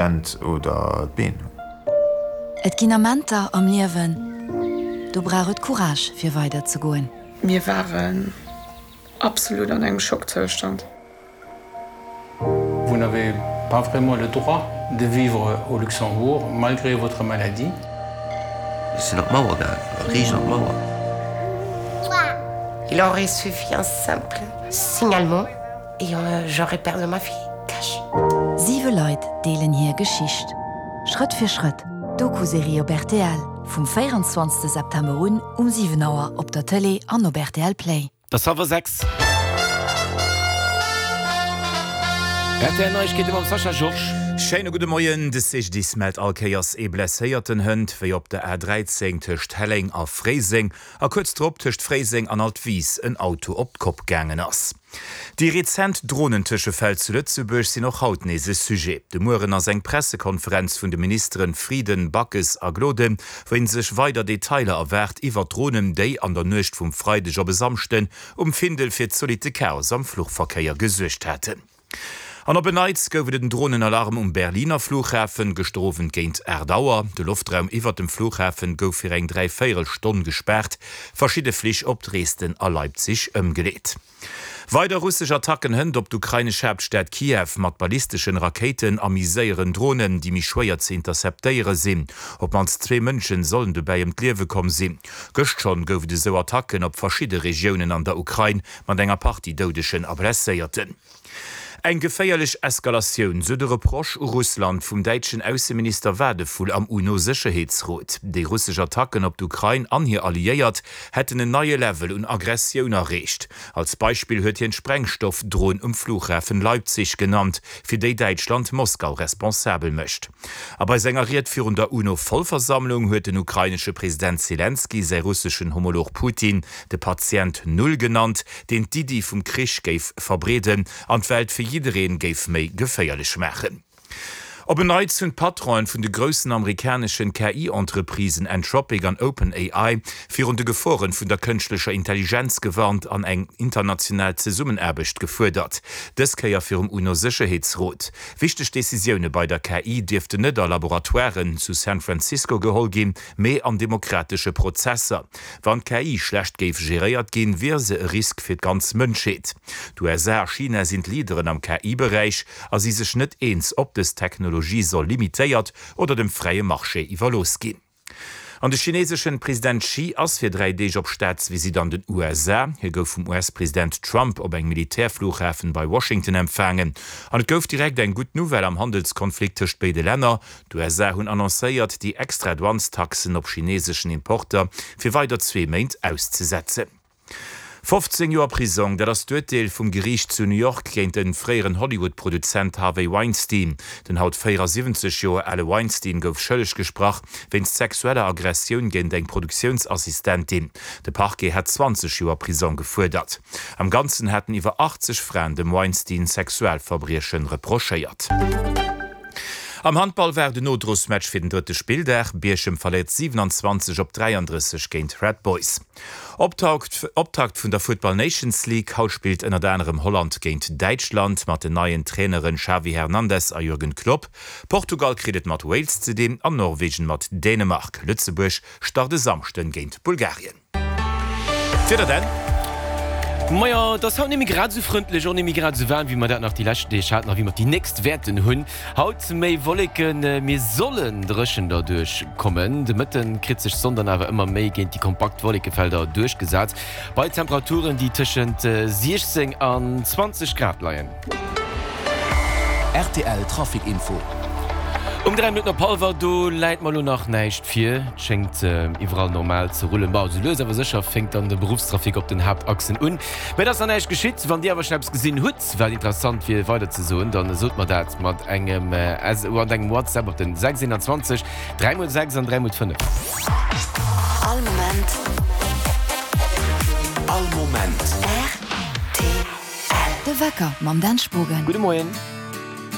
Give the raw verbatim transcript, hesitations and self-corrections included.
Hänn oder d'Been. Et ginn Amenter am Liewen, do brauch et Courage fir weider ze goen. Mir waren absolut an engem Schockzoustand. Vous n'avez pas vraiment le droit de vivre au Luxembourg malgré votre maladie. Ech sinn op d'Mauer gaangen, riicht an d'Mauer. Il aurait suffi un simple signalement et j'aurais perdu ma fille cash. Siwe Leit deelen hir Geschicht. Schrëtt fir Schrëtt, Doku-Serie op rtl, vum véierenzwanzegste September un um siwen Auer op der Tëlee an op rtl Play. Et ass hallwer sechs. Rtl Neiegkeete mam Sascha Georges. Schéine gudde Moien. De C G D I S mellt all Kéiers ee Blesséierten hënt, wéi op der A dräizéng tëscht Helleng a Fréiseng a kuerz drop tëscht Fréiseng an Altwis en Auto op d'Kopp gaangen ass. Déi rezent Dronentëschefäll zu Lëtzebuerg sinn och haut nees e Sujet. De Mueren ass eng Pressekonferenz vun de Ministeren Frieden, Backes a Gloden, wou een sech weider Detailer erwaart iwwer d'Dronen, déi an der Nuecht vum Freideg op e Samschden um Findel fir zolitte Chaos am Fluchverkéier gesuergt haten. An op en Neits gouf et en Dronenalarm um Berliner Flughafen, gëschter Owend géint aacht Auer. De Loftraum iwwert dem Flughafen gouf fir eng dräivéierel Stonn gespaart, verschidde Flich op Dresden a Leipzig ëmgeleet. Weider russesch Attacken hënt op d'ukrainesch Haaptstad Kiew mat ballisteschen Rakéiten a méi séieren Dronen, déi méi schwéier ze interceptéiere sinn. Op d'mannst zwee Mënschen sollen dobäi ëm d'Liewe komm sinn. Gëscht schonn gouf et esou Attacken op verschidde Regiounen an der Ukrain mat enger Partie Doudegen a Blesséierten. Eng geféierlech Eskalatioun, sou de Reproche u Russland vum däitschen Ausseminister Wadephul am UNO-Sécherheetsrot. Déi russesch Attacken op d'Ukrain an hir Alliéiert hätten en neie Level un Aggressioun erreecht. Als Beispill huet hien d'Sprengstoff-Dron um Flughafen Leipzig genannt, fir déi Däitschland Moskau responsabel mécht. A bei senger Ried virun der UNO-Vollversammlung huet den ukrainesche President Selenskyj säi russeschen Homolog Putin de Patient Null genannt, deen d'Iddi vum Krich géif verbreeden an d'Welt fir jiddereen géif méi geféierlech maachen. Op en Neits hunn d'Patronen vun de groussen amerikaneschen K I-Entreprisen Anthropic an OpenAI virun de Geforen vun der kënschtlecher Intelligenz gewarnt an eng international Zesummenaarbecht gefuerdert. Dës Kéier virum UNO-Sécherheetsrot. Wichteg Decisioune bei der K I dierften net a Laboratoiren zu San Francisco geholl ginn, mee an demokratesche Prozesser. Wann d'K I schlecht géif geréiert ginn, wier se e Risk fir d'ganz Mënschheet. D'U S A a China sinn d'Leaderen am K I-Beräich a si sech net eens, ob dës Technologie soll limitéiert oder dem fräie Marché iwwerlooss ginn. An de chineeseschen President Xi ass fir dräi Deeg op Staatsvisitt an den U S A. Hie gouf vum U S-President Trump op engem Militärflughafen bei Washington empfaangen. An et gouf direkt eng gutt Nouvelle am Handelskonflikt tëscht béide Länner. D'U S A hunn annoncéiert, déi extra Douanestaxen op chineeseschen Importer fir weider zwee Méint auszesetzen. Fofzéng Joer Prisong, dat ass d'Urteel vum Geriicht zu New York géint de fréieren Hollywood-Produzent Harvey Weinstein. Den haut véierasiwwenzeg Joer ale Weinstein gouf schëlleg gesprach wéinst sexueller Aggressioun géint eng Produktiounsassistentin. De Parquet hat zwanzeg Joer Prisong gefuerdert. Am Ganzen haten iwwer achtzeg Fraen dem Weinstein Sexualverbrieche reprochéiert. Am Handball war den Nodrosmatch fir den drëtte Spilldag. Bierchem verléiert siwenanzwanzeg op dräiandrësseg géint Red Boys. Optakt Optakt vun der Futtball Nations League. Haut spillt ënnert anerem Holland géint Däitschland mat den neien Traineren Xavi Hernandez a Jürgen Klopp. Portugal kritt et mat Wales ze dinn an Norwegen mat Dänemark. Lëtzebuerg start e Samschden géint Bulgarien. D'Wieder dann. Majo, et ass haut net méi grad esou frëndlech, och net méi grad esou waarm, wéi mer dat nach déi leschten Deeg haten a wéi mer déi nächst wäerten hunn. Haut méi Wolleken, mir sollen dréchen derduerch kommen. De Mëtten kritt sech d'Sonn dann awer ëmmer méi géint déi kompakt Wollekefelder duerchgesat, bei Temperaturen, déi tëschent siechzéng an zwanzeg Grad leien. R T L Trafic Info. Um dräi Minutten op hallwer, do läit mer elo nach näischt vir. Et schéngt iwwerall normal ze rullen. Bon, sou lues awer sécher fänkt dann de Beruffstrafic op den Haaptachsen un. Mä et ass nach näischt geschitt. Wann Dir awer schonn eppes gesinn hutt, wat interessant wier weiderzesoen, dann sot mer dat mat engem S mat engem WhatsApp op den sechs eenanzwanzeg dräi mol sechs an dräi mol fënnef. All Moment. All Moment. R T L. De Wecker mam Dan Spogen. Gudde Moien.